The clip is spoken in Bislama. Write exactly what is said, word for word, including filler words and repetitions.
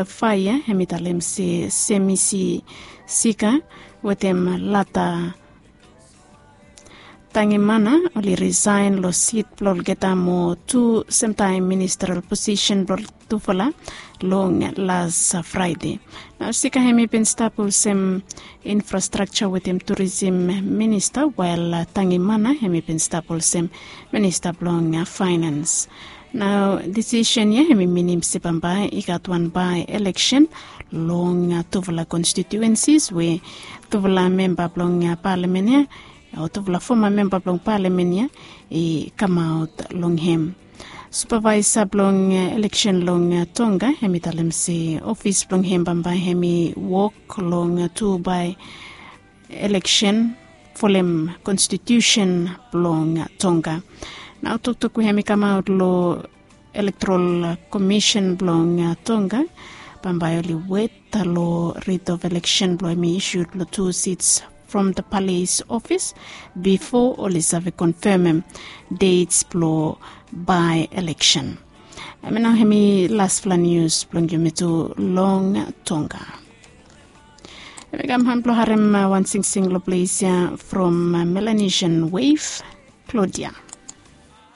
Faia hem i talem se Semisi Sika wetem Lata Tangimana oli risaen long sit blong olgeta mo tu semtaem ministerial posisen blong tufala long las Fraede. Nao Sika hem i bin stap olsem infrastrakja wetem turisim minista, wael Tangimana hem i bin stap olsem minista blong faenans. Nao disisen ya hem i minim se bambae i gat wan bae eleksen long tufala konstitiuensis we tufala memba blong palamen ya o tufala foma memba blong palamen ya i kamaot long hem. Supavaesa blong eleksen long Tonga hem i talem se ofis blong hem bambae hem i wok long tu bae eleksen folem konstitiusen blong Tonga. Nao toktok we hem i kamaot long elektorol komisen blong Tonga, bambae oli wet long rit of eleksen blong hem i isud long tu sits from the palace office bifo oli save konfemem dets blong bae eleksen. Hem i nao hem i lasfala nius blong yumi tu long Tonga. Hem i kam han blong harem wan singsing long ples ya from Melanesian Wave, Claudia.